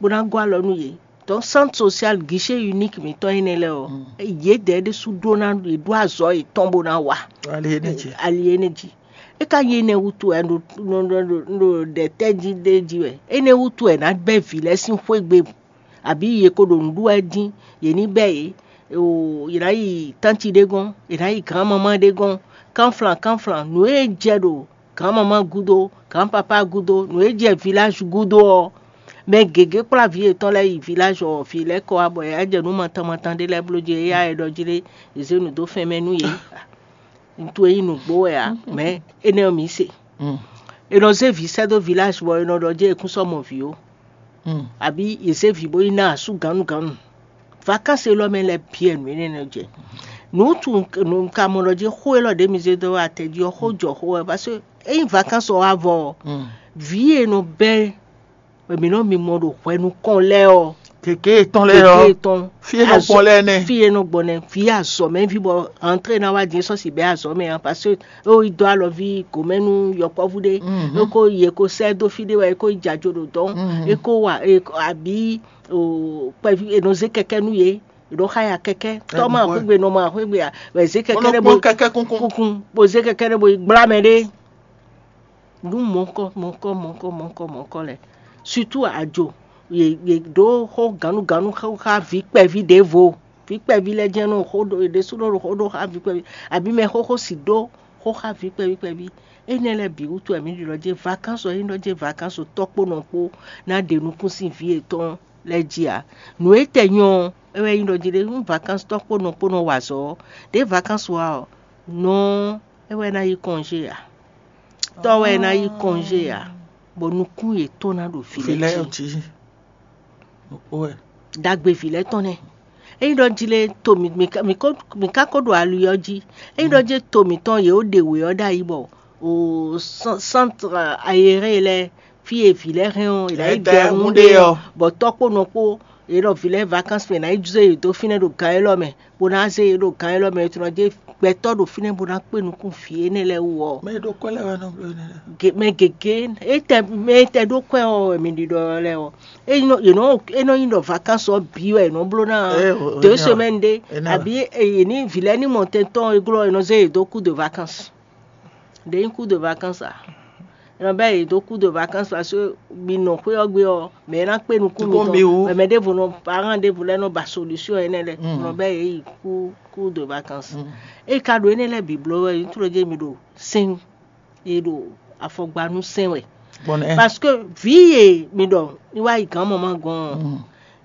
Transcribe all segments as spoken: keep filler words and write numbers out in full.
bó ná gɔ́ alɔ nú yě. Donc centre social guichet unique mǐtɔn énɛ́ lɛ́ɛ ɔ́, yědɛɛ ɖésú ɖó ná yě ɖó azɔ̌ yětɔn bó ná wa. Ali énɛ́ jí. É ka nyí énɛ́ wútu wɛ ɖo ɖo ɖɛ tɛ́ jí ɖé jí wɛ. Énɛ́ wútu wɛ ná bɛ́ vǐ lɛ́ɛ sín xwé gbe, abǐ yě ko ɖo nǔ ɖu wɛ dín, yě ní bɛ́ yě. Yě ná yi tánti ɖé gɔ́n, yě ná yi gǎnmamá ɖé gɔ́n, kánflán kánflán, nǔ e jɛ ɖo gǎnmamá gúdo, gǎnpapá gúdo, nǔ e jɛ viláž gúdo ɔ́, mɛ gěgé kplá vǐ yětɔn lɛ́ɛ yi viláž ɔ́, vǐ lɛ́ɛ kɔ wá bɔ yě wá jɛ nǔ matan matan ɖé lɛ́ɛ bló jí, éyɛ́ e ɖɔ jí ɖé, yě zé nǔ dó fɛn mɛ nú yě. Ntu e nyí nǔgbó wɛ ǎ, mɛ énɛ́ ɔ́ mǐ se. È nɔ zé vǐ sɛ́ dó viláž bɔ è nɔ ɖɔ jɛ́n è kún sɔ́ mɔ vǐ ó, abǐ è zé vǐ bó yi ná asú gǎnnugǎnnu. Vakansi élɔ́ mɛ lɛ́ɛ bǐ wɛ nǔ énɛ́ nɔ jɛ. Nǔ tu nǔ ka mɔ ɖɔ jí xó élɔ́ ɖě mi zé dó atɛ jí ɔ́, xó jɔ xó wɛ, parce que ényí vakansi ɔ́ wá vɔ ɔ́, vǐ e nɔ bɛ́ wɛ mǐ nɔ mimɔ ɖo hwɛ nukɔn lɛ́ɛ ɔ́, Gěgé etɔn lɛ́ɛ gěgé ɔ́, etɔn fí e nɔ gbɔn lɛ́ɛ nɛ. Fí e nɔ gbɔn nɛ, vǐ azɔ̌mɛví bɔ antré ná wá din sɔ́ si bɛ́ azɔ̌ mɛ ǎ, parce que é yi dó alɔví gǒmɛ nú yɔkpɔ́vú ɖé, é ko yě ko sɛ́ dó fí ɖé wɛ é ko yi jɛ ajo ɖo dɔn, é ko wa é ko- abǐ o kpɛví è nɔ zé kɛkɛ́ nú yě, è nɔ xa ya kɛkɛ́, tɔ́ ma xwégbe, nɔ ma xwégbe ǎ, wɛ zé kɛkɛ́ ɖé bo kɛkɛ́ kúnkún. Kúnkún, bo zé kɛkɛ́ ɖé bo yi gblá mɛ ɖé. Nǔ mɔ̌kɔ mɔ̌kɔ mɔ̌kɔ mɔ̌kɔ mɔ̌kɔ lɛ́ɛ, surtout ajo, yě yě ɖó xó gǎnnugǎnnu xó xá vǐ kpɛví ɖěvo. Vǐ kpɛví lɛ́ɛ jɛ́n nɔ xó ɖó yě ɖésúnɔ ɖo xó ɖó xá vǐ kpɛví, abǐ mɛ xóxó si ɖó xó xá vǐ kpɛví kpɛví. Énɛ́ lɛ́ɛ bǐ wútu wɛ mǐ ɖi ɖɔ jɛ́n vakansu ɔ́, ényí ɖɔ jɛ́n vakansu tɔ́ kpó nɔ kpó ná ɖe nukún sín vǐ yětɔn lɛ́ɛ jí ǎ. Nǔ e tɛ nyɔ ɔ́, é wɛ nyí ɖɔ jí ɖé nú vakansu tɔ́ kpó nɔ kpó nɔ wa azɔ̌ ɔ́, ɖě vakansu wá ɔ́, nɔ ɔ́ é wɛ ná yí kɔnjé ǎ. Tɔ́ wɛ ná yí kɔnjé ǎ, bɔ nukún yětɔn ná ɖo vǐ lɛ́ɛ jí. Ɖagbe vǐ lɛ́ɛ tɔn nɛ́. Ényí ɖɔ jí lé to mǐ mǐ ka- mǐ ko- mǐ ka ko ɖo ali ɔ́ jí. Ényí ɖɔ jí to mǐtɔn yě ó ɖe wě ɔ́ ɖ'ayǐ bɔ o centre aéré lɛ́ɛ fí e vǐ lɛ́ɛ hɛn ɔ́, è nǎ yi dɔn nú ɖé ɔ́, bɔ tɔ́ kpó nɔ kpó yě ɖɔ vǐ lɛ́ɛ vacances mɛ è nǎ yi zé yě dó fínɛ́ ɖo gan élɔ́ mɛ, bó ná zé yě ɖo gan élɔ́ mɛ, è tunɔ jɛ gbɛtɔ́ ɖo fínɛ́ bó ná kpé nukún vǐ énɛ́ lɛ́ɛ wú ɔ́. Mɛ e ɖo kwɛ́ lɛ́ɛ wɛ nɔ bló énɛ́ lɛ́ɛ. Mɛ gěgé é tɛ mɛ e tɛ ɖó kwɛ́ ɔ́ wɛ mi ɖiɖɔ lɛ́ɛ ɔ́, é nɔ é nɔ é nɔ nyí ɖɔ vacances ɔ́ bǐ wɛ è nɔ bló ná deux semaines ɖé, abǐ è ní vǐ lɛ́ɛ ní mɔ tɛntɔn e glɔ́ è nɔ zé yě dó cours de vacances. Ɖě nyí cours de vacances a? È nɔ bɛ́ yě dó cours de vacances parce que mi nɔ xwé ɔ́ gbe ɔ́, mɛ e ná kpé nukún mi tɔn, mɛ ɖěvo nɔ parent ɖěvo lɛ́ɛ nɔ ba solution énɛ́ lɛ́ɛ, è nɔ bɛ́ yě yi cours cours de vacances. É ka ɖo énɛ́ lɛ́ɛ bǐ bló wɛ, nyí tló jɛ mi ɖo sɛn e ɖo afɔgba nú sɛn wɛ. Parce que vǐ e mi ɖɔ ní wá yi gǎn mama gɔ́n ɔ́,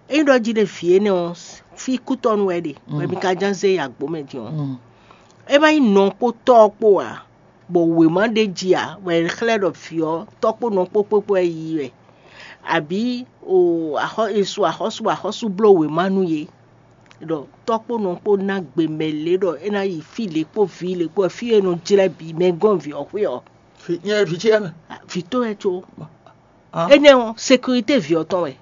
ényí ɖɔ jí ɖe vǐ énɛ́ ɔ́, fí kútɔ́nu wɛ ɖe, bɔ mi ka ján zé yi agbǒ mɛ din ɔ́, é má nyí nɔ kpó tɔ́ ɔ́ kpó ǎ, bɔ wěma ɖé jí ǎ, bɔ è xlɛ́ ɖɔ vǐ ɔ́ tɔ́ kpó nɔ kpó kpó kpó wɛ yi wɛ, abǐ o axɔ́ è su axɔ́sú bɔ axɔ́sú bló wěma nú yě, ɖɔ tɔ́ kpó nɔ kpó ná gbe mɛ lě ɖɔ é ná yi fí lě kpó vǐ lě kpó fí e nɔ jlɛ́ bǐ mɛ gɔ́n vǐ ɔ́ xwé ɔ́. Nyɛ vǐ ce mɛ. Vǐ tɔn wɛ có. Énɛ́ ɔ́ sécurité vǐ ɔ́ tɔn wɛ.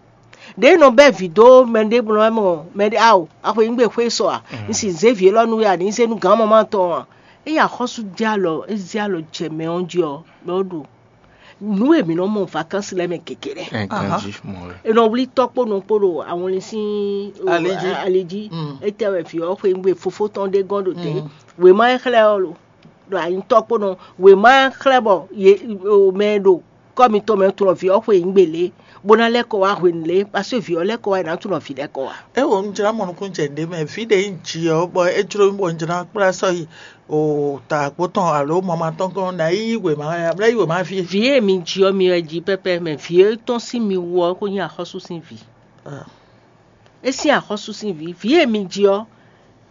Ɖě nɔ bɛ́ vǐ dó mɛ ɖěbǔ nɔ mɔ mɛ ɖé ao axweyǐngbe xwé sɔ a, un si zé vǐ élɔ́ nú we a, ní zé nú gǎn mama tɔn a? Ényí axɔ́sú jɛ alɔ é zé alɔ jɛ mɛ ɔ́ jí ɔ́, mɛ ɔ́ ɖo nǔ e mǐ nɔ mɔ vacances lɛ́ɛ mɛ gěgé lɛ́ɛ. Ɛ ganjí mɔ wɛ. È nɔ wlí tɔ́ kpó nɔ kpó ɖo awɔnlin sín o, Ali jí. Ali jí. Mm. Étɛ́ wɛ vǐ ɔ́ xweyǐngbe fofó tɔn ɖé gɔ́n ɖo te. Mm. Wěma e xlɛ́ ɔ́ lo ɖo anyitɔ́ kpó nɔ. Wěma e xlɛ́ bɔ yě o mɛ e ɖo kɔ́ mitɔn mɛ tunɔ vǐ ɔ́ xweyǐngbe lě, bó ná lɛ́ kɔ wá hwenu lě, paseke vǐ ɔ́ lɛ́ kɔ wá è nǎ tunɔ vǐ lɛ́ kɔ wá. É wo un jlá mɔ nukúnnú jɛ ɖě mɛ, vǐ ɖě nyí jǐ ɔ́, bɔ é jló mì bɔ un jlá kplá sɔ́ yi o ta àgbo tɔn alo mama tɔn gɔ́n ná yi wěma wɛ, a blá yi wěma fí. Vǐ e mi ji ɔ́, mi wɛ ji pɛ́pɛ́, mɛ vǐ e tɔ́n sín mi wú ɔ́, é ko nyí axɔ́sú sín vǐ. Ah. É sín axɔ́sú sín vǐ, vǐ e mi ji ɔ́,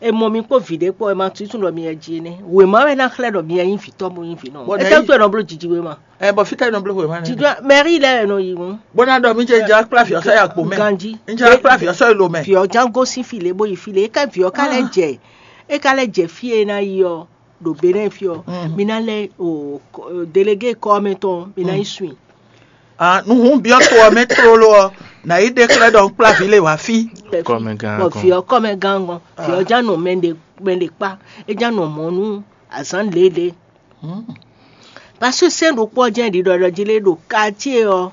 è mɔ mi kpó vǐ ɖé kpó, è ma tunwun ɖɔ mi wɛ ji énɛ́. Wěma wɛ ná xlɛ́ ɖɔ mi wɛ nyí vǐ tɔn bó nyí vǐ nɔ. Bɔ Étɛ́ nɛ̌- wútu è nɔ bló jiji wěma? Ɛ bɔ fítɛ́ nɔ bló wěma nɛ. Jijɔ mɛrí lɛ́ɛ è nɔ yi ŋu. Bó ná ɖɔ mí jɛ jɛ kplá vǐ ɔ́ sɔ́ yi akpo mɛ. Ganjí. Ń jɛ kplá vǐ ɔ́ sɔ́ yi lo mɛ. Vǐ ɔ́ ján gosín fí lě bó yi fí lě, é ká vǐ ɔ́ ká lɛ́ jɛ, é ká lɛ́ jɛ fí e é ná yi ɔ́, ɖo Benɛ́ɛ fí ɔ́, mi ná lɛ́ o kɔ- délégué kɔ́ mɛ tɔn, mi ná yi swin. Ah, nuhun byɔ́ to ɔ́ mɛ tlóló ɔ́, nǎ yi ɖe xlɛ́ ɖɔ un kplá vǐ lě wá fí. Kɔmɛgán Bɔ gɔn. Vǐ ɔ́ kɔ́ mɛ gán gɔn, vǐ ɔ́ ján nɔ mɛ ɖe mɛ ɖe kpá, é ján nɔ mɔ̌ nú azǎn lělě. Paseke sɛ́n ɖokpó ɔ́ jɛ́n ɖiɖɔ ɖɔ jí lé ɖo quartier ɔ́,